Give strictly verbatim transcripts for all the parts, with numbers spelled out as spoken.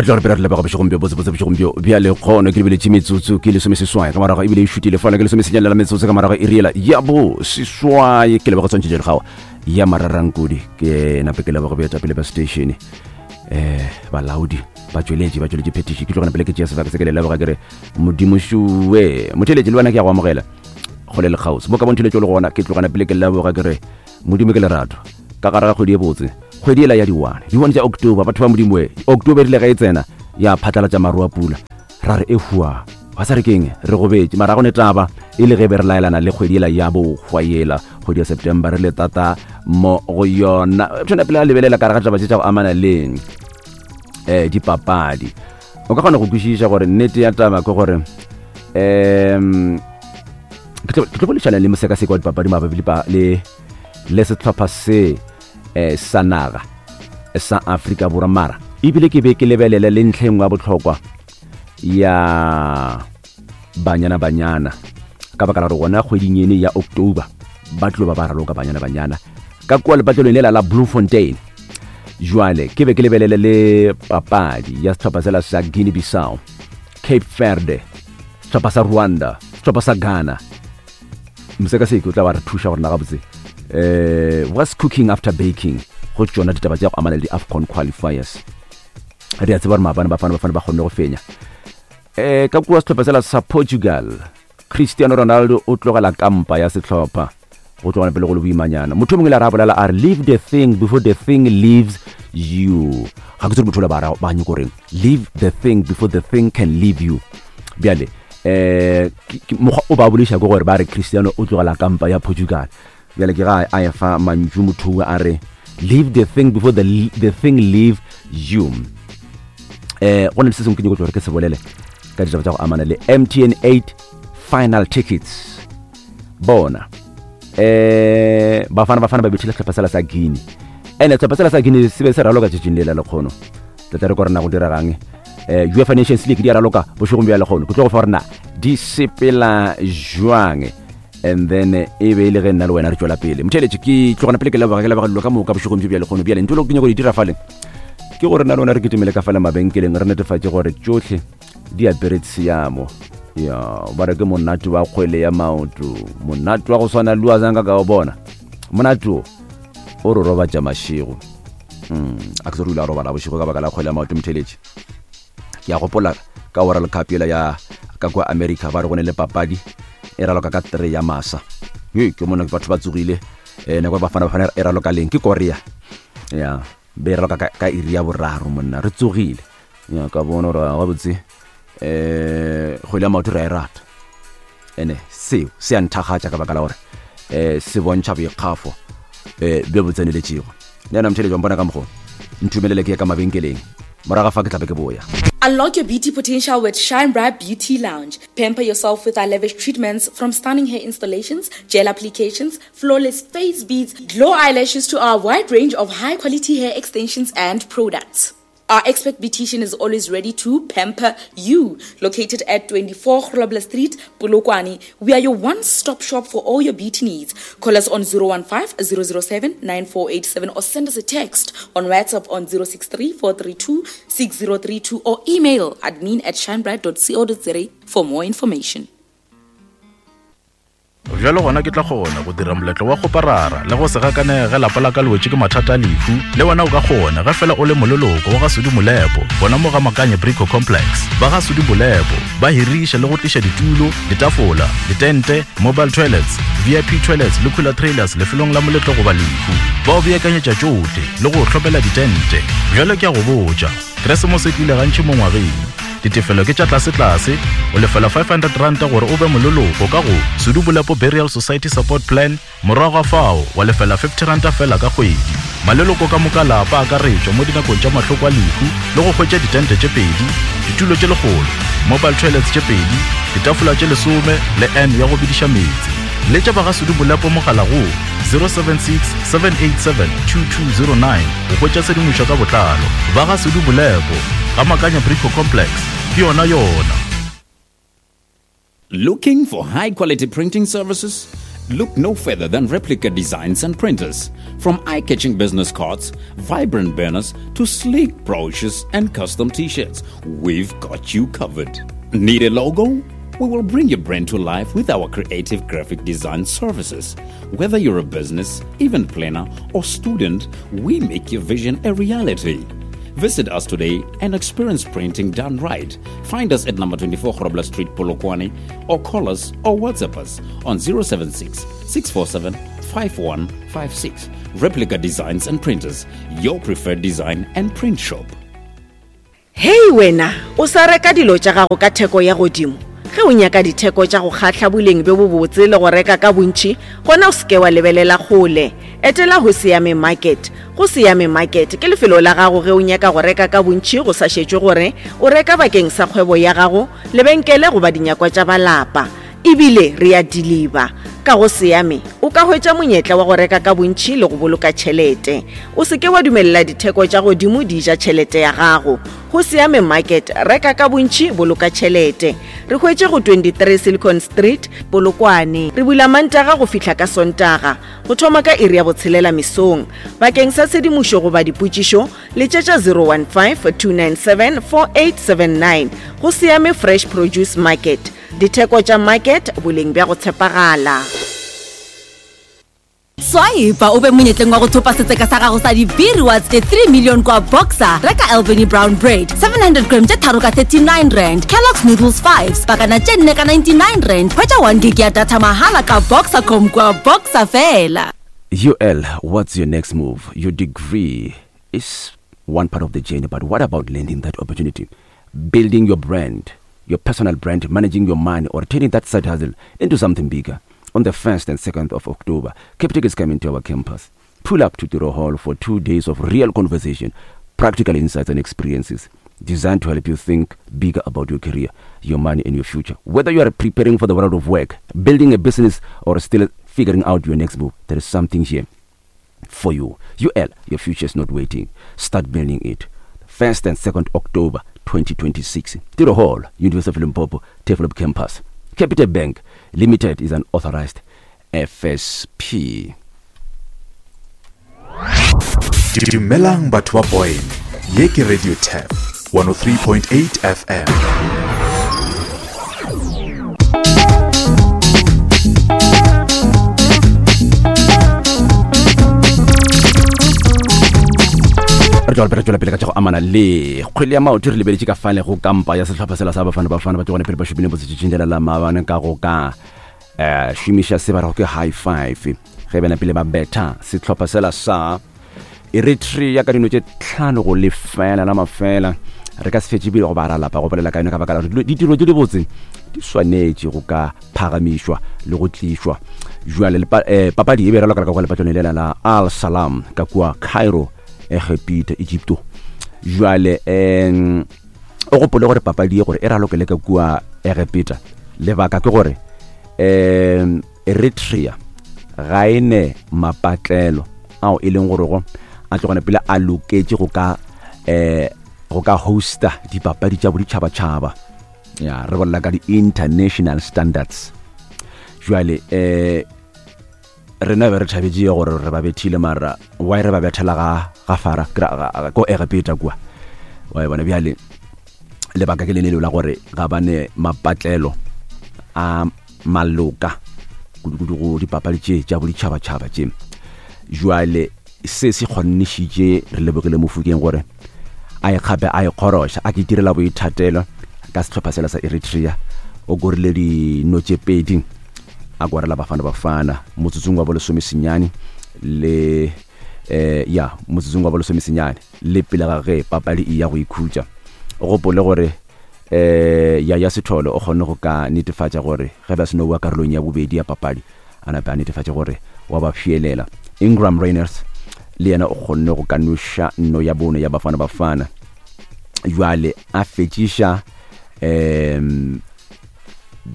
Tla re pele re leboga bošegong bjo botsebotse bošegong bjo bja lekgono. Ke lebeletše metsotso ke lesomeseswai ka morago, ebile e šutile fala ke lesomesenyane la metsotso ka morago e riela ya bo seswai. Ke leboga tshwantšhetšo legago ya mararankodi, ke nape ke leboga boetapele ba station, um balaodi ba tšweletše ba tšweletše phetiši. Ke tlogana pele ke tšea sebaka se ke le leboga, ke re Modimo šuwe motheletše le wena, ke ya go amogela kgole le kgauswi mo ka bontšheletšo le gona. Ke tlogana pele ke leboga, ke re Modimo ke lerato ka gare ga kgwedi e botse, kgwedi ela ya diwane, diwane tša October. Batho ba Modimo e, October rile ge e tsena ya phatlalatša maru a pula, ra re e hua ba sa re keng re gobetše, mara go ne taba e le ge be re laelana le kgwedi ela ya bohwa yela, kgwedi ya September re le tata mo go yona. Tshwana pele a lebelela ka re ga taba tše tša go amana le um dipapadi, o ka kgona go kwešiša gore nnete ya taba ke gore um ke tlo boledišana le mosekaseki wa dipapadi mabapi le le sehlopha se eh, sa naga sa Afrika Borwa, mara ebile ke be ke lebelele le ntlha engwe ya bohlokwa ya Banyana Banyana, ka baka la gore gona kgweding ene ya October ba tlo ba ba raloka Banyana Banyana ka kua lepatlelong lela la Bloemfontein. Jwale ke be ke lebelele le papadi ya sehlopha sela sa Guinea Bissau, Cape Verde, sehlopha sa Rwanda, sehlopha sa Ghana. Mosekaseki o tla ba re thuša gore na gabotse eh what's cooking after baking go tšona ditaba tša go amana le di-AFCON qualifiers. Re a tseba gore maabane Bafana Bafana ba kgonne go fenya um ka kua sehlopha sela sa Portugal. Cristiano Ronaldo o tlogela kampa ya sehlopha go tlogana pele go le boimanyana. Motho o mongwe le a re a bolela a re, "Leave the thing before the thing leaves you." Ga ke tsere motho ola ba ba nyako reng, "Leave the thing before the thing can leave you." Bjale um mokgwa o ba bolediša ke gore ba re Cristiano o tlogela kampa ya Portugal. Bjale ke ga a efa mantšu motho a re, "Leave the thing before the, the thing leave you." eh go na le se sengwe ke nyako gore ke se bolele ka ditaba tša go amana le M T N eight final tickets. Bona eh Bafana Bafana ba bethile sehlopha sela sa Guinea, ene sehlopha sela sa Guinea se be se raloka tšatšing lela lekgono. Tla re ko rena go diregang eh UEFA Nations League di a raloka bošegong bja lekgono, ke tlo go fa gore na di sepela jwang, and then e be e le ge nna le wena re tšwela pele. Motheletše, ke tlogana pele ke leboga, ke leboga dilo ka moka bošegong bjo bja lekgono. Bjale ntho le ke nyako di dira fale ke gore nna le wena re ketemele ka fale mabenkeleng, re netefatše gore tšohle di apere tshiamo. Ya ba re ke monate wa kgwele ya maoto, monate wa go swana le wa zanka ka o bona, monate o o re robatša mašego. mm, a ke se re ile a robala bošego ka baka la kgwele ya maoto. Motheletše, ke a gopola ka World Cup ela ya ka kwa America, ba re go ne le papadi e raloka ka three ya masa. Ye ke mona batho ba tsogile um nako Bafana Bafana e raloka leng ke Korea, ya be e raloka ka, ka iri ya boraro, monna re tsogile. Ya ka bona gore gabotse um kgwele ya maoto re a e rata, ene seo se a nthagatša ka baka la gore um se bontšha boikgafo um bjo bo tseneletšego. Le ena motheletši wa mpona ka mokgo, ntumelele ke ye ka mabenkeleng, morago fa ke tlabe ke boya. Unlock your beauty potential with Shine Bright Beauty Lounge. Pamper yourself with our lavish treatments, from stunning hair installations, gel applications, flawless face beads, glow eyelashes to our wide range of high quality hair extensions and products. Our expert beautician is always ready to pamper you. Located at twenty-four Grobler Street, Polokwane, we are your one-stop shop for all your beauty needs. Call us on zero one five zero zero seven nine four eight seven or send us a text on WhatsApp on zero six three four three two six zero three two or email admin at shinebright dot co dot za for more information. Bjalo gona ke tla kgona go dira moletlo wa kgoparara le go se gakanege ge lapa la ka le wetše ke mathata a lehu. Le wena o ka kgona ge fela o le moleloko wa ga Sudi Molepo gona mo ga Makanye Brico Complex. Ba ga Sudi Molepo ba hiriša le go tliša ditulo, ditafola, ditente, mobile toilets, V I P toilets le cooler trailers lefelong la moletlo goba lehu. Ba o beakanyetša tšohle le go hlopela ditente. Bjalo ke a go botša, Keresemose e tlile gantši mo ngwageng. Ditefelo ke tša tlasetlase, o lefela five hundred ranta gore o be moleloko ka go Sudu Bolepo Burial Society Support Plan, morago ga fao wa lefela fifty ranta fela ka kgwedi. Maleloko ka moka lapa akaretšwa mo dinakong tša mahloko a lehu le go hwetša ditente tše pedi, ditulo tše lekgolo, mobile toilets tše pedi, ditafola tše lesome le n ya go bediša meetse. Letša ba ga Sudu Bolepo mogala go zero seven six seven eight seven two two zero nine go hwetša tshedimošo ka botlalo. Ba ga Sudu Bolepo ga Makanya Brico Complex, ke yona yona. Looking for high quality printing services? Look no further than Replica Designs and Printers. From eye-catching business cards, vibrant banners, to sleek brochures and custom t-shirts, we've got you covered. Need a logo? We will bring your brand to life with our creative graphic design services. Whether you're a business, event planner, or student, we make your vision a reality. Visit us today and experience printing done right. Find us at number twenty-four Grobler Street, Polokwane, or call us or WhatsApp us on zero seven six, six four seven, five one five six. Replica Designs and Printers, your preferred design and print shop. Hey wena, o sa reka dilo tša gago ka theko ya godimo. Ge o nyaka ditheko tša go kgahla boleng bjo bobotse le go reka ka bontši, gona o seke wa lebelela kgole. Etela go Siame Market. Go Siame Market ke lefelo la gago ge o nyaka go reka ka bontši go sa šetšwe gore o reka bakeng sa kgwebo ya gago, lebenkele goba dinyakwa tša balapa. Ebile re a deliver. Ka go Siame o ka hwetša monyetla wa go reka ka bontši le go boloka tšhelete. O seke wa dumelela ditheko tša godimo di ja tšhelete ya gago. Go Siame Market, reka ka bontši, boloka tšhelete. Re hwetše go twenty-three Silicon Street, Polokwane. Re bula Mantaga go fihla ka Sontaga, go thoma ka iri ya botshelela mesong. Bakeng sa tshedimošo goba dipotšišo, letšetša zero one five, two nine seven, four eight seven nine. Go Siame Fresh Produce Market. Ditheko tša market, boleng bja go tshepagala. Swipe o be monyetleng wa go thopa setseka sa gago sa di-B-rewards tše three million kwa Boxer. Reka Albany Brown Bread seven hundred gram tše tharo ka thirty-nine rand, Kellogg's Noodles five pakana tše nne ka ninety-nine rand. Hwetša one gig ya data mahala ka Boxercom kwa Boxer fela. U L, what's your next move? Your degree is one part of the journey, but what about landing that opportunity? Building your brand, your personal brand, managing your money, or turning that side hustle into something bigger. On the first and second of October, Capitec is coming to our campus. Pull up to Tiro Hall for two days of real conversation, practical insights and experiences designed to help you think bigger about your career, your money, and your future. Whether you are preparing for the world of work, building a business, or still figuring out your next move, there is something here for you. U L, your future is not waiting. Start building it. first and second October twenty twenty-six. Tiro Hall, University of Limpopo, Turfloop Campus. Capitec Bank Limited is an authorized F S P. Dumelang batho ba Boyne. Ye ke Radio Tap one oh three point eight F M. Re tšwela pele, pele ka tša go amana le kgwele ya maoto, re lebeletše ka fale go kampa ya sehlopha sela sa Bafana Bafana ba tšogane pele ba šupile botsetšetšing la maabane ka go ka eh šomiša se ba rego ke high five ge bana pele ba betha sehlopha sela sa Eritrea ka dino tše tlhano go lefela la mafela. Re ka se fetše pele go ba ra lapa go bolela ka yone ka baka la gore ditiro tše dibotse di swanetše go ka phagamišwa le go tlišwa. Jwale papadi e be raloka ka kwa lepatlong lela la Al Salam ka kua Cairo, Egepita, Egypto. Jwale um o gopole gore papadi e gore e ralokele ka kua Egepita, lebaka ke gore um Eritrea ga e ne mapatlelo ao e leng gore go a tlogane pele a loketše go ka um go ka hosta dipapadi tša boditšhabatšhaba. Ya re bolela ka di-international standards. Jwale um rena be re thabetše gore re ba bethile, mara why re ba bethela ga ga fara ko Egepeta kua wa e bona. Bjale lebaka ke lene leo la gore ga bane mapatlelo a maloka kudu-kudu go dipapadi tše tša boditšhabatšhaba tše. Jwale se se kgonnišitše re lebogile Mofokeng gore a ikgape a ikgoroša a ke itirela boithatelo ka sehlopha sela sa Eritrea. O korile dino tše pedi a kwarela Bafana Bafana motsotsong wa bolesome senyane le eh ya motsotsong wa bolesome senyane le pele ga ge papadi e ya go ikhutša. O gopole gore eh ya ya Sethole o kgonne go ka netefatša gore ge ba seno wa karolong ya bobedi ya papadi a nape a netefatše gore wa ba fielela. Ingram Rainers le yena o kgonne go ka noša nno ya bone ya Bafana Bafana. Jwale a fetšiša um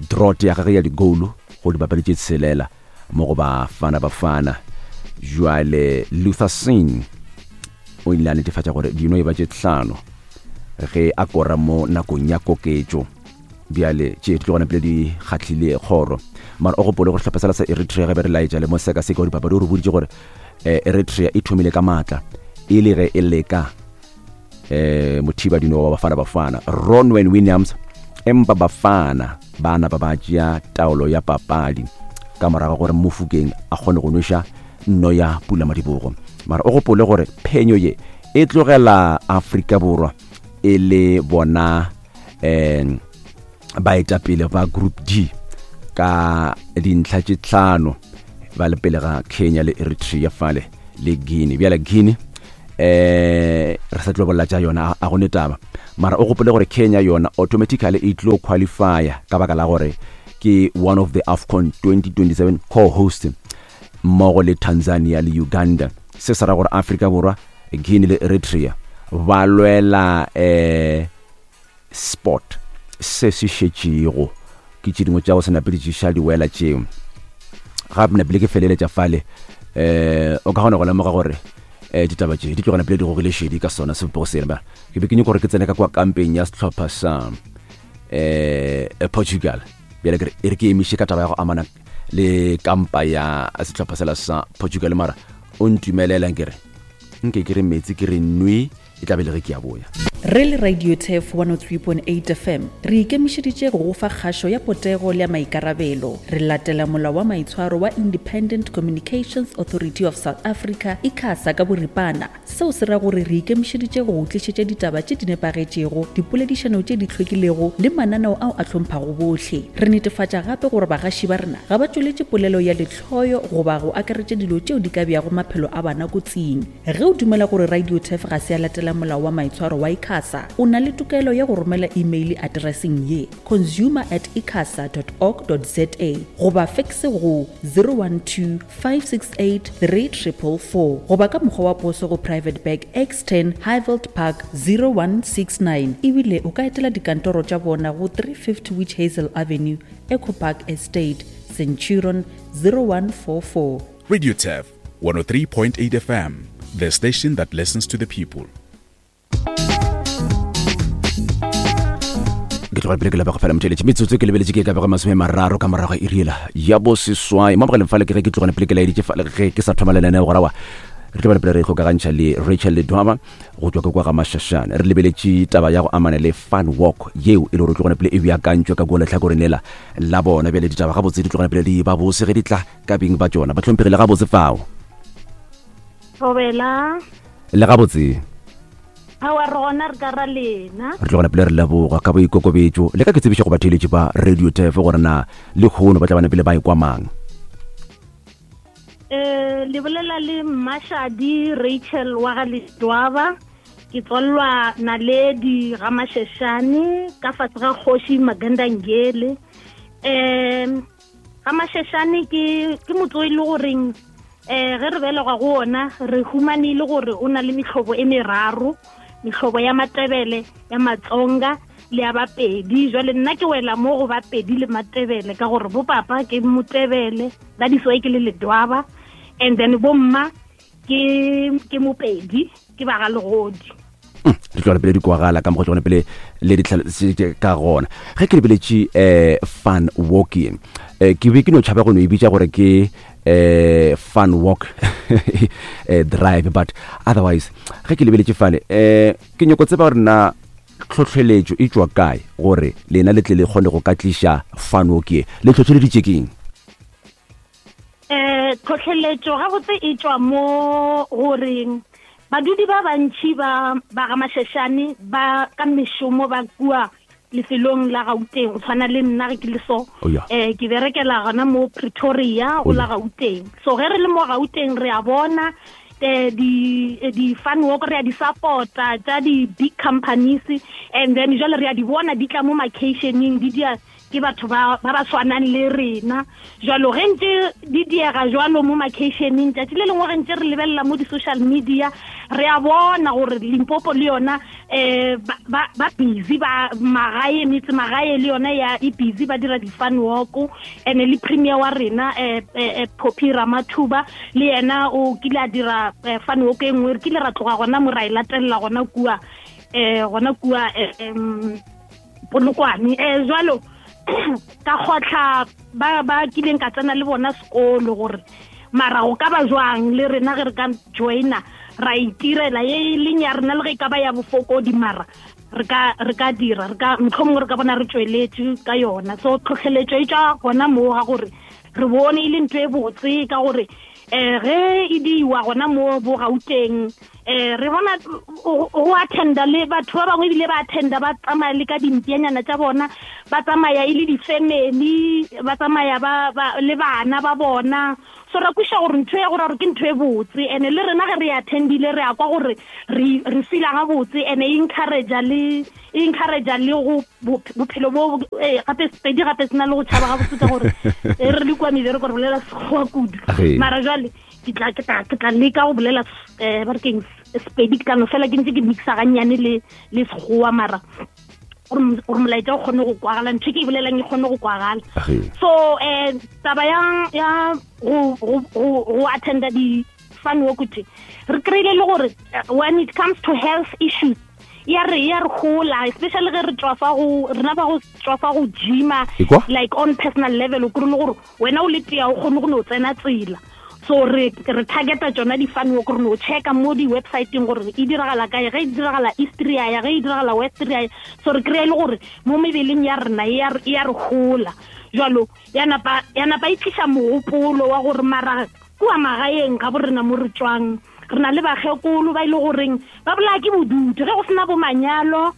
drot ya gagwe ya digolo go dipapadi tše tshelela mo go Bafana Bafana. Jwale Luther Singh o ile a netefatša gore dino e ba tše tlhano ge a kora mo nakong ya koketšo. Bjale tše di tlogana pele di kgahlile kgoro. Mara o gopole gore sehlopha sela sa Eritrea ge be re laetša le mo sekaseka wa dipapadi o re boditše gore eh, Eritrea e thomile ka maatla e le ge e leka eh mothibadino wa Bafana Bafana Ronwen Williams, empa Bafana bana ba ba tšea taolo ya papadi ka morago gore Mofokeng a kgone go nweša nno ya pula madibogo. Mara o gopole gore phenyo ye e tlogela Afrika Borwa e le bona eh baetapele ba Group D ka dintlha tše tlhano, ba le pele ga Kenya le Eritrea fale le Guinea. Bjale Guinea eh re sa tlo bolela tša yona, a gone taba. Mara o gopole gore Kenya yona automatically e tlo qualifya ka baka la gore ke one of the AFCON twenty twenty-seven co-host mmogo le Tanzania le Uganda. Se se ra gore Afrika Borwa, Guinea le Eritrea ba lwela eh sport se se šetšego. Ke tše dingwe tša go se nape di tšiša diwela tšeo. Gape napile ke feleletša fale, eh o ka kgona go lemoga gore eh ditaba tše di tloga napile di gogile šedi ka sona sebopego sena. Ba ke be ke nyaka gore ke tsene ka kwa kampeng ya sehlopha sa eh Portugal. Bjale ke re e re ke emiše ka taba ya go amana le kampa ya sehlopha sela sa Portugal, mara o ntumelelang ke re nke ke re metsi ke re nwe e tla be le ge ke a boya. Re le Radio Turf one oh three point eight F M re ikemišeditše go go fa kgašo ya potego le ya maikarabelo. Re latela molao wa maitshwaro wa Independent Communications Authority of South Africa, ICASA ka boripana. Seo se ra gore re ikemišeditše go go tlišetša ditaba tše di nepagetšego, dipoledišano tše di hlwekilego le mananeo ao a hlomphago bohle. Re netefatša gape gore bagaši ba rena ga ba tšweletše polelo ya lehloyo goba go akaretša dilo tšeo di ka beago maphelo a bana kotsing. Ge o dumela gore Radio Turf ga se ya latela molao wa maitshwaro wa ICASA, o na le tokelo ya go romela email addresseng ye consumer at icasa dot org dot za goba fax go zero one two five six eight three triple four goba ka mokgwa wa poso go Private Bag X ten Highveld Park zero one six nine. Ebile o ka etela dikantoro tša bona go three fifty Witch Hazel Avenue, Echo Park Estate, Centurion zero one four four. Radio Turf one oh three point eight F M, the station that listens to the people. Ke tloga pele ke lapa go fela motšheletše metsotso ke lebeletše ke ka bego masome mararo ka morago iri yela ya boseswai. Mo mogaleng fale ke ge ke tlogane pele ke laeditše fale ge ke sa thoma lenaneo gore aowa re tlo ba pele re ikgokagantšha le Rachel Ledwaba go tšwa ka kwa ga Mashashane. Re lebeletše taba ya go amana le fun walk yeo e le gore tlogane pele e beakantšwe ka kua lehlakoreng lela la bona. Bjale ditaba gabotse di tlogane pele di ba bose ge di tla ka beng ba tšona. Ba hlomphegile gabotse fao. Thobela. Le gabotse. Aowa re gona re ka ra lena. Re tlogela pele re leboga ka boikokobetšo. Le ka ke tsebiša go batheeletši ba Radio Turf gore na le kgono ba tla bana pele ba ekwa mang. Eh le bolela le Mashadi Rachel wa ga Ledwaba. Ke tswallwa Naledi ga Mashashane ka fatshe ga kgoši Maganda Ngele. Eh ga Mashashane ke ke motse o e le goreng eh ge re belegwa go ona re humanile gore o na le mehlobo e meraro, mehlobo ya Matebele, ya Matsonga le ya Bapedi. Jwale nna ke wela mo go Bapedi le Matebele ka gore bo papa ke Motebele, that is why ke le Ledwaba, and then bo mma ke ke Mopedi, ke ba ga Legodi. Di tloga pele di kwagala ka mokgwa tsone pele le ditlhaloso ka gona. Ge ke lebeletše eh fun walking, eh ke be ke no tšhaba go no e bitša gore ke eh fun walk eh drive, but otherwise ge ke lebeletše fale eh ke nyoko tseba gore na tlhotlheletšo e tšwa kae gore lena le tle le kgone go ka tliša fun walk ye, le tlhotlheleditše keng? Eh tlhotlheletšo gabotse e tšwa mo goreng badudi ba bantši ba ba ga Mashashane ba ka mešomo ba kua lefelong la Gauteng, go tshwana le nna ge ke le so eh ke berekela gona mo Pretoria go la Gauteng. So ge re le mo Gauteng re a bona di di fun walk, re a di supporta tša di big companies, and then jwale re a di bona di tla mo makeisheneng di dia ke batho ba ba ba tshwanang le rena. Jwalo ge ntse di diega jwalo mo makeisheneng, tšatši le lengwe ge ntse re lebelela mo di-social media re a bona gore Limpopo le yona eh ba ba busy ba magae, metse magae le yona ya e busy ba dira di-fun walk. And le premier wa rena eh, eh Phophi Ramathuba le yena o kile a dira eh, fun walk e nngwe, re kile ra tloga gona mo ra e latelela gona kua eh gona kua eh, Polokwane. Eh jwalo Ka kgotlha ba ba kileng ka tsena le bona sekolo gore mara go ka ba jwang le rena ge re ka joina ra itirela ye e leng ya rena le ge e ka ba ya bofokodi mara re ka re ka dira re ka mohlomongwe re ka bona re tsweletše ka yona. So tlhotlheletšo e tšwa gona moo ga gore re bone e le ntho e botse ka gore um ge e diwa gona mo bo Gauteng um re bona go attenda le batho ba bangwe ebile ba attenda ba tsamaya le ka dimpianyana tša bona, ba tsamaya e le di-family, ba tsamaya ba le bana ba bona. So ra kweša gore ntho ya gore ke ntho e botse, and le rena ge re attendile re a kwa gore re re feela gabotse, and e encourage le e encourage le go bophelo bo gape Sepedi gape se na le go tšhaba gabotse ka gore re le kua mebereko re bolela Sekgowa kudu. Mara jwale ke tla ke tla ke tla leka go bolela um ba re keng Sepedi, ke tla no fela ke ntse ke mixa gannyane le le Sekgowa mara gore molaetša o kgone go kwagala, ntho e ke e bolelang e kgone go kwagala. So um taba ya ya go go go attenda di fun walk tše re kry-ile le gore when it comes to health issues ya re ya re gola, especially ge re tswafa go rena ba go tswafa go gyma like on personal level o kry le gore wena o le tea o kgone go no tsena tsela. So re re targeta tsona di-fun walk, re no checka mo di-websiteng gore e diragala kae, ge e diragala East re ya, ge e diragala West re ya. So re kry-a le gore mo mebeleng ya rena e ya re gola. Jwalo ya napa ya napa e tliša mogopolo wa gore mara kua magaeng ga bo rena mo re tswang re na le bakgekolo ba ile goreng ba bolaya ke bodutu ge go sena bo manyalo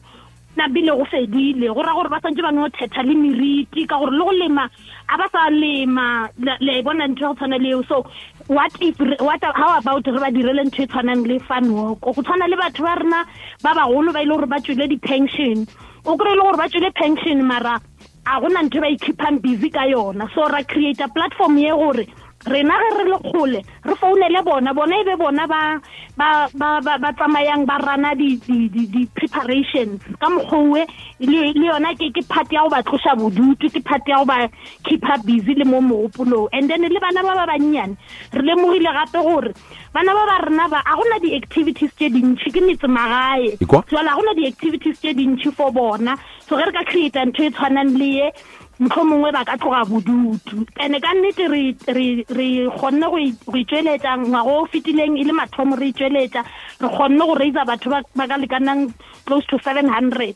nabile go fedile, go ra gore ba santse ba no thetha le meriti ka gore le go lema a ba sa lema, le bona ntho ya go tshwana le eo. So what if what how about re ba direle ntho e tshwanang le fun walk go tshwana le batho ba rena ba bagolo ba ile gore ba tswile di-pension, o kry-e le gore ba tswile pension mara a gona ntho ba e keepang busy ka yona. So ra create a platform ye gore rena ge re le kgole re founele bona, bona e be bona ba ba ba ba tsamayang ba rana di di di preparations ka mokgwa le le yona ke ke part ya go ba tloša bodutu, ke part ya go ba keep up busy le mo mogopolong. And then le bana ba ba bannyane re lemogile gape gore bana ba ba rena ba a gona di-activities tše dintšhi, ke metse magae jwale a gona di-activities tše dintšhi for bona. So ge re ka create ntho e tshwanang le ye mohlomongwe ba ka tloga bodutu. Ene ka nnete re re re kgonne go itšweletša ngwaga o fetileng e le mathomo re itšweletša, re kgonne go raisa batho ba ka lekanang close to seven hundred.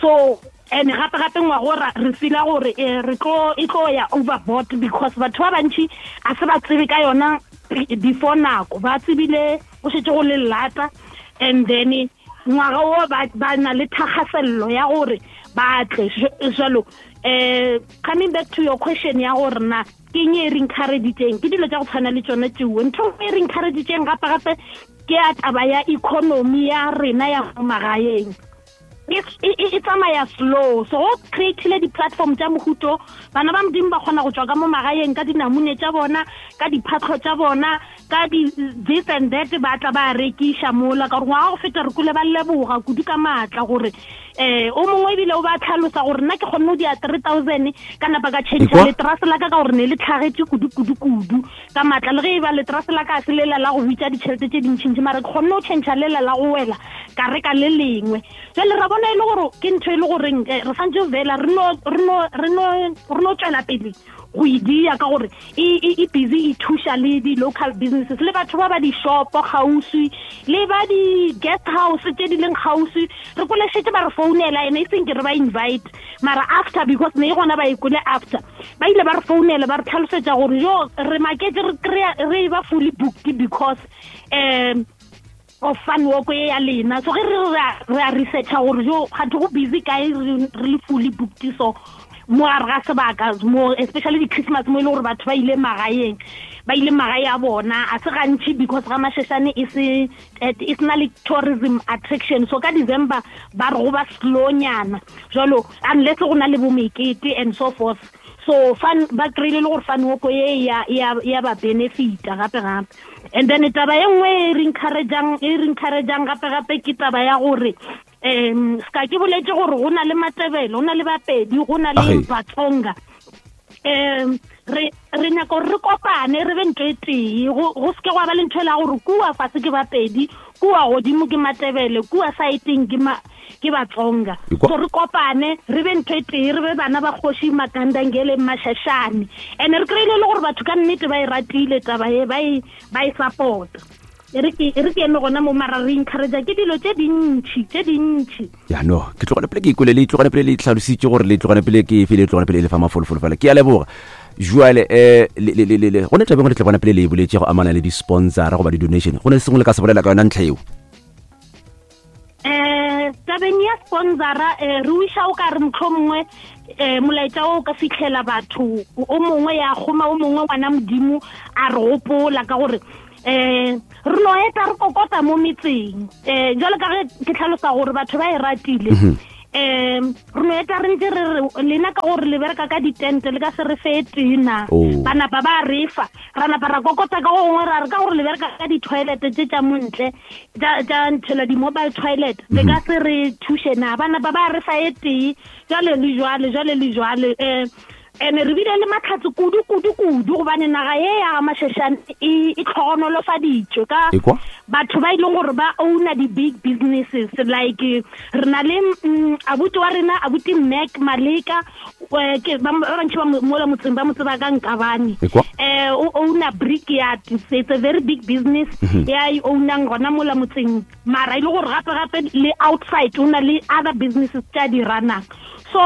So and gape gape ngwago re feela gore re tlo e tlo ya overboard because batho ba bantši a se ba tsebe ka yona before nako, ba tsebile go šetše go le lata. And then ngwaga o ba na le thakgasello ya gore ba tle jalo. Eh coming back to your question ya gore na ke eng e re encouragetseng, ke dilo tša go tshwana le tsone tšeo. Ntho e re encouragetseng gape gape ke ya taba ya economy ya rena ya mo magaeng e tsamaya slow. So go creatile di-platform tša mohuto, bana ba Modimo ba kgona go tswa ka mo magaeng ka dinamune tša bona, ka diphatlho tša bona, ka di this and that, ba tla ba rekiša mola. Ka gore ngwaga go feta re kule ba leboga kudu ka maatla gore eh o mongwe ebile o ba tlhalosa gore nna ke kgonne go dia three thousand ka napa ka change leterase la ka ka gore ne le tlhagetše kudu kudu kudu ka maatla, le ge e ba leterase la ka a se lela la go bitša ditšhelete tše dintšhintšhi mara ke kgonne go change lela la go wela ka reka le lengwe. Jwale ra bona e le gore ke ntho e le goreng re santse fela re no re no re no re no tswela pele go e dia ka gore e busy e thuša le di-local businesses le batho ba ba di-shopo kgauswi le ba di-guest house tše di leng kgauswi. Re kole šetše ba re founela, ene e seng ke re ba invite mara after because ne e gona ba e kole after ba ile ba re founela ba re tlhalosetša gore yo re maketse re kry-a re ba fully booked because um of fun walk ye ya lena. So ge re re a researcha gore jo gate go busy kae re le fully booked, so mo gare ga sebaka mo especially di-Christmas mo e le gore batho ba ile magaeng ba ile magae a bona a se gantši because ga Mashashane e se e sena le tourism attraction. So ka December ba re go ba slownyana jalo unless go na le bo mekete and so forth. So fun ba kry-ile le gore fun walk ye ya ya ya ba benefita gape gape. And then taba e nngwe e re encourageang e re encourageang gape gape ke taba ya gore um ska ke boletse gore go na le Matebele, go na le Bapedi, go na le Batsonga. Um re re nyaka gore re kopane re be ntho e tee, go seke gwa ba le ntho e la gore kua fase ke Bapedi, kua godimo ke Matebele, kua saeteng ke ma ke Batsonga. So re kopane re be ntho e tee, re be bana ba kgoši Makandangele Mashashane. And re kry-ile le gore batho ka nnete ba e ratile taba e, ba e ba e support. E re ke e re ke eme gona mo, mara re encourage ke dilo tše dintši tše dintši. Ya no, ke tlogane pele ke ikwele le tlogane pele le tlhalositše gore le tlogane pele ke efe, le tlogane pele e le fa mafolofolo fela. Ke a leboga. Jwale eh le le le le go ne tabeng le tla bona pele le e boletše go amana le di-sponsor goba di-donation, go ne sengwe le ka se bolela ka yona ntlha eo? Eh tabeng ya sponsora, eh re wiša o ka re mohlomongwe eh molaetša o ka fihlela batho o mongwe ya kgoma o mongwe ngwana Modimo a re gopola, ka gore eh re no eta re kokota mo metseng. Eh jwalo ka ge ke tlhalosa gore batho ba e ratile, um re no eta re ntse re re lena ka gore le bereka ka ditente le ka se re fe tena, ba napa ba re fa, ra napa ra kokota ka gongwe ra re ka gore le bereka ka di-toilet tše tša montle tša nthela di-mobile toilet, le ka se re thuše na, ba napa ba re fa e tee, jwale le jwale jwale le jwale. Um ene re bile le matlhatse kudu kudu kudu, gobane naga ye ya ga Mashashane e e tlhogonolofaditšwe ka batho ba e leng gore ba owner di-big businesses. Like re na le abuti wa rena, abuti Mac Maleka, ke ba bantši ba mola motseng ba mo tseba ka Nkabane. Eh o owner Brickyard, it's a very big business ya e ownang gona mola motseng, mara e le gore gape gape le outside o na le other businesses tša di runang. So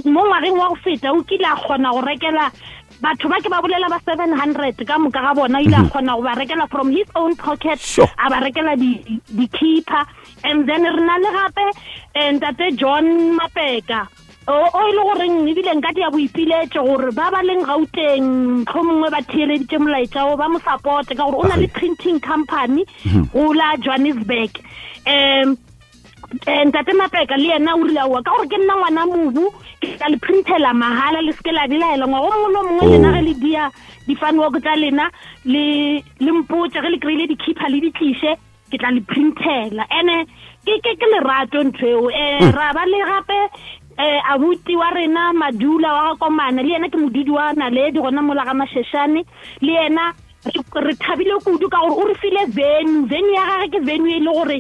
mo ngwageng wa go feta o kile a kgona go rekela batho ba ke ba bolela ba seven hundred ka moka ga bona, ile a kgona go ba rekela from his own pocket, a ba rekela di-keeper. And then re na le gape ntate John Mapeka, o e le goreng ebile nka dia boipiletšo gore ba ba leng Gauteng mohlomongwe ba theeleditše molaetša o ba mo supporte, ka gore o na le printing company go la Johannesburg. Um ntate Mapeka le yena o rile aowa, ka gore ke nna ngwana mobu, ke tla le printela mahala, le seke la belaela. Ngwaga o mongwe le o mongwe lena ge le dia di-fun walk tša lena le le mpotše ge le kry-ile di-keeper le di tliše, ke tla le printela. Ene ke ke ke lerato ntho eo. Um ra ba le gape eh abuti wa rena Madula wa ga Komana, le yena ke modudi wa Naledi gona mola ga Mashashane, le yena re thabile kudu ka gore o re file venue. Venue ya gage ke venue e le gore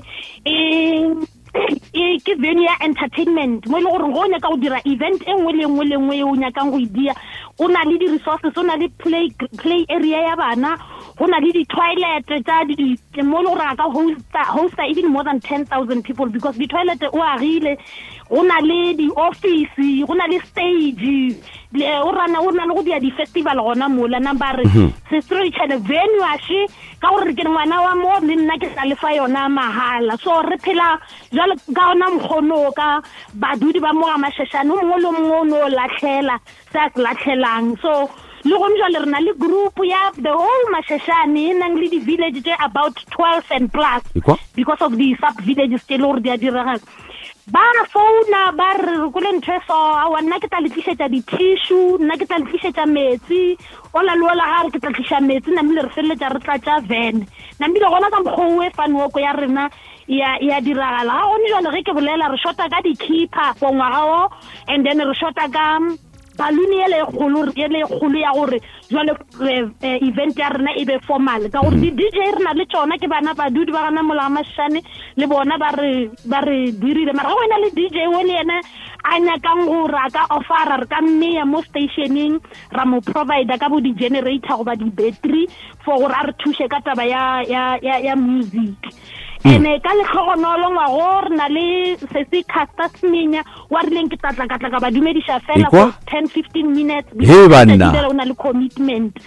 e ke venue ya entertainment, mo e le gore go nyaka go dira event e nngwe le nngwe le nngwe e o nyakang go e dia, o na le di-resources, o na le play play area ya bana, go na le di-toilet tša mo e le gore a ka hosta hosta even more than ten thousand people, because di-toilet o agile, go na le di-office, go na le stage, o rana o na le go dia di-festival gona mola. Namba re sestro venue ashe ka gore ke ngwana wa mo le nna ke tla lefa yona mahala. So re phela jwale ka ona mokgono ka badudi ba mo ga Mashashane, o mongwe le mongwe o no latlhela se a se latlhelang. So le gone jwale re na le group ya the whole Mashashane e nang le di-village tse about twelve and plus, because of the sub villages tse le gore di a diragala. Ba founa ba re re kole ntho e so, aowa nna ke tla le tlišetša di-tissue, nna ke tla le tlišetša metsi, ola le ola ga re ke tla tliša metsi, namile re feleletša re tlatša van. Namile gona ka mokgwa o e fun walk ya rena ya ya diragala. Ga gone jwale ge ke bolela re shota ka di-keeper for ngwaga o, and then re shota ka balloon ele e kgolo, ele e kgolo ya gore jwale event ya rena e be formal, ka gore di-D J re na le tšona ke bana badudi ba gana mola ga Mashashane, le bona ba re ba re dirile. Mara ga wena le D J o le yena a nyakang gore a ka offera, re ka mmeya mo stationeng ra mo provider ka bo di-generator goba di-battery for gore a re thuše ka taba ya ya ya ya music. Ene ka letlhogonolo ngwago re na le sese Caster Semenya wa rileng ke tlatla ka tla ka ba dumediša fela for ten fifteen minutes, o na le commitment.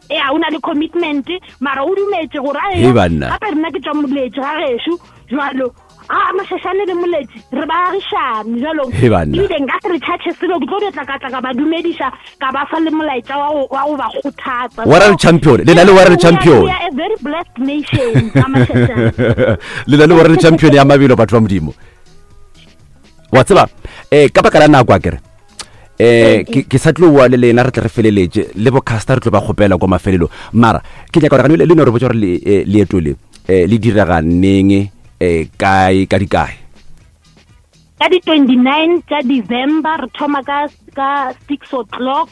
Ya o na le commitment, mara o dumetse gore a gape rena ke tswa Moletši ga gešo jwalo, a Mashashane le Moletši re ba agišane jalo, ebile nka se re charge selo, ke tlo di tla ka tla ka ba dumediša ka ba fa le molaetša wa go wa go ba kgothatsa. World champion le na le world champion, we are a very blessed nation ka Mashashane, le na le world champion ya mabelo batho ba Modimo. Wa tseba eh ka baka la nako a kere eh ke sa tlo bua le lena re tle re feleletše le bo Caster re tlo ba kgopela kwa mafelelo, mara ke nyaka gore le no re botša gore leeto le le direga neng, eh kae ka dikae? Ka di twenty-nine tša December re thoma ka ka six o'clock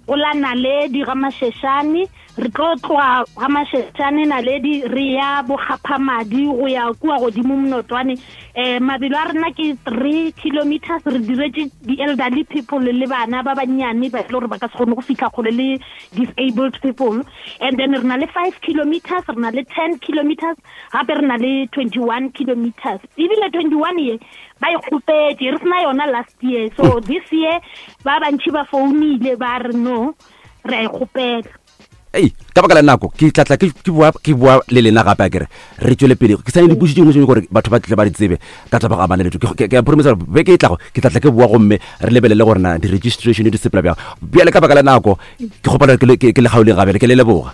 go la Naledi ga Mashashane, Re tlo tloga ga Masheshane Naledi re ya Bogaphamadi go ya kua godimo Mnotwane. Um mabelo a rena ke three kilometers. Re diretše di-elderly people le bana ba bannyane ba e le gore ba ka se kgone go fitlha kgole le disabled people. And then re na le five kilometers, re na le ten kilometers, gape re na le twenty-one kilometers. Ebile twenty-one ye ba e kgopetše, re sena yona last year. So this year ba bantši ba founile ba re no, re a e kgopela. Ei, ka baka la nako ke tlatla ke ke bua ke bua le lena gape a kere re tswele pele. Ke sane dipotso tše dingwe tše gore batho ba tle ba di tsebe ka taba ga amana le ke ke a promise gore beke e tlago ke tlatla ke bua gomme re lebelele gore na di-registration di sepela bjang. Bjale ka baka la nako ke kgopela ke le ke le gaoleng gabele, ke le leboga.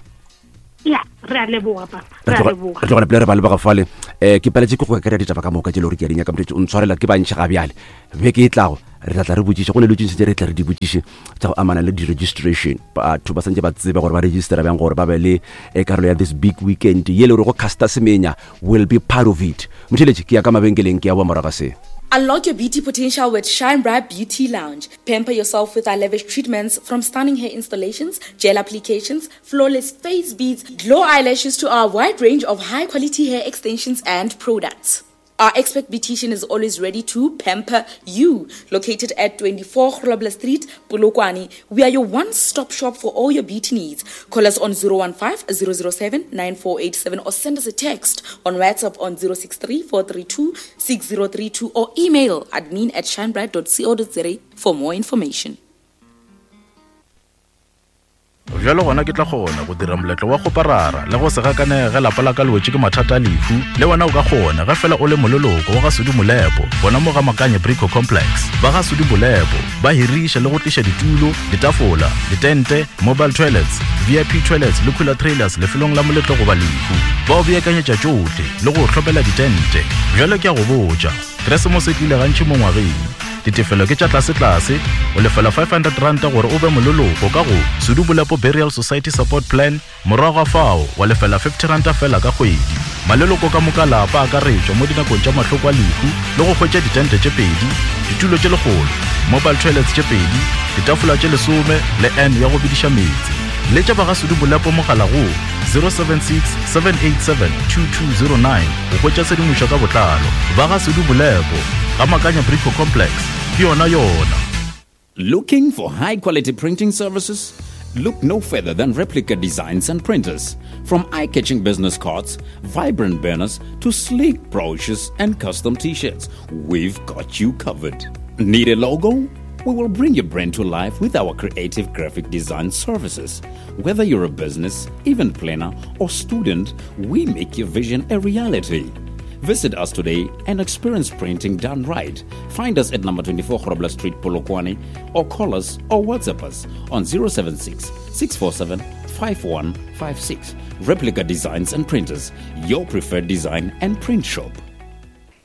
Ya, re a leboga papa, re a leboga. Re tlogela pele re ba leboga fale. Um ke paletše ke go kry-a ditaba ka moka tše le gore ke a di nyaka motho o ntshwarela ke bantši ga bjale. Beke e tlago re tla tla re botšiše go ne le tše tše re tla re di botšiše tša go amana le di-registration. Batho ba santse ba tsebe gore ba registera bjang gore ba be le karolo ya this big weekend ye le gore go Caster Semenya will be part of it. Motheletše ke ya ka mabenkeleng ke ya boa morago se. Unlock your beauty potential with Shine Bright Beauty Lounge. Pamper yourself with our lavish treatments from stunning hair installations, gel applications, flawless face beads, glow eyelashes to our wide range of high-quality hair extensions and products. Our expert beautician is always ready to pamper you. Located at twenty-four Grobler Street, Polokwane, we are your one-stop shop for all your beauty needs. Call us on zero one five, zero zero seven, nine four eight seven or send us a text on WhatsApp on zero six three, four three two, six zero three two or email admin at shinebright dot co dot za for more information. Bjalo gona ke tla kgona go dira moletlo wa go parara le go se gakanege lapa la ka le wetše ke mathata a lehu. Le wena o ka kgona ge fela o le moleloko wa ga Sudi Molepo gona mo ga Makanye Brico Complex. Ba ga Sudi Molepo ba hiriša le go tliša ditulo, ditafola, ditente, mobile toilets, V I P toilets le cooler trailers lefelong la moletlo goba lehu. Ba o beakanyetša tšohle le go hlopela ditente. Bjalo ke a go botša, Keresemose e tlile gantši mo ngwageng. Ditefelo ke tša tlase-tlase, o lefela five hundred ranta gore o be moleloko ka go Sudi Molepo Burial Society Support Plan, morago ga fao wa lefela fifty ranta fela ka kgwedi. Maleloko ka moka lapa a akaretšwa mo dinakong tša mahloko a lehu le go hwetša ditente tše pedi, ditulo tše lekgolo, mobile toilets tše pedi, ditafola tše lesome le N ya go bidiša meetse. Letša ba ga Sudi Molepo mogala go zero seven six, seven eight seven, two two zero nine go hwetša tshedimošo ka botlalo. Ba ga Sudi Molepo ga Makanya Brico Complex ke yona yona. Looking for high quality printing services? Look no further than Replica Designs and Printers. From eye-catching business cards, vibrant banners, to sleek brochures and custom t-shirts, we've got you covered. Need a logo? We will bring your brand to life with our creative graphic design services. Whether you're a business, event planner, or student, we make your vision a reality. Visit us today and experience printing done right. Find us at number twenty-four Grobler Street, Polokwane, or call us or WhatsApp us on zero seven six, six four seven, five one five six. Replica Designs and Printers, your preferred design and print shop.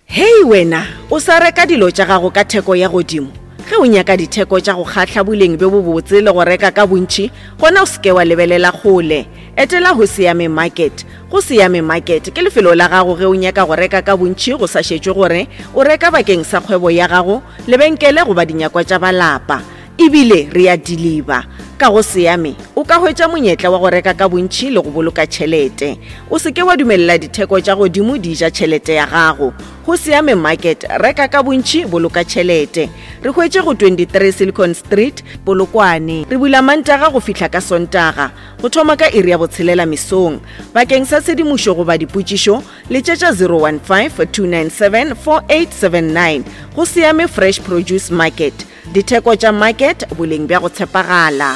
Hey wena, o sa reka dilo tša gago ka theko ya godimo. Ge o nyaka ditheko tša go kgahla boleng bjo bobotse le go reka ka bontši, gona o se ke wa lebelela kgole. Etela go Siame Market. Go Siame Market ke lefelo la gago ge o nyaka go reka ka bontši go sa šetšwe gore o reka bakeng sa kgwebo ya gago, lebenkele goba dinyakwa tša ba lapa. Ebile re a deliver. Ka go Siame o ka hwetša monyetla wa go reka ka bontši le go boloka tšhelete. O se ke wa dumelela ditheko tša godimo di ja tšhelete ya gago. Go Siame Market, reka ka bontši, boloka tšhelete. Re hwetše go twenty-three Silicon Street, Polokwane. Re bula Mantaga go fihla ka Sontaga, go thoma ka iri ya botshelela mesong. Bakeng sa tshedimošo goba dipotšišo, letšetša zero one five, two nine seven, four eight seven nine. Go Siame Fresh Produce Market. Ditheko tša market, boleng bja go tshepagala.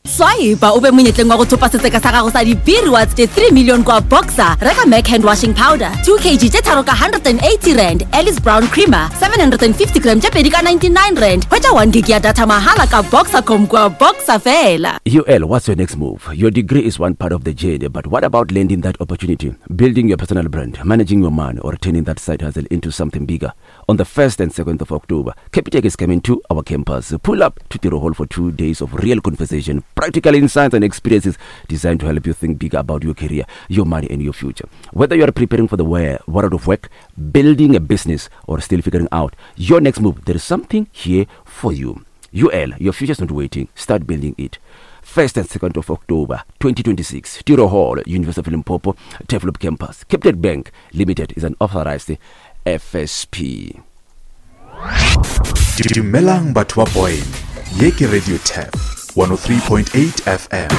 Swipe o be monyetleng wa go thopa setseka sa gago sa di-B-rewards tše three million kwa Boxer. Reka Mac hand washing powder two kilograms tše tharo ka hundred and eighty rand, Alice Brown creamer seven hundred and fifty gram tše pedi ka ninety-nine rand. Hwetša one gig ya data mahala ka Boxercom kwa Boxer fela. U L, what's your next move? Your degree is one part of the journey, but what about landing that opportunity, building your personal brand, managing your money, or turning that side hustle into something bigger? On the first and second of October, Capitec is coming to our campus. Pull up to Tiro Hall for two days of real conversation, practical insights and experiences designed to help you think bigger about your career, your money, and your future. Whether you are preparing for the world of work, building a business, or still figuring out your next move, there is something here for you. U L, your future is not waiting. Start building it. first and second of October twenty twenty-six, Tiro Hall, University of Limpopo, Turfloop Campus. Capitec Bank Limited is an authorized F S P. Dumelang batho ba Boyne, ye ke Radio Turf one oh three point eight F M.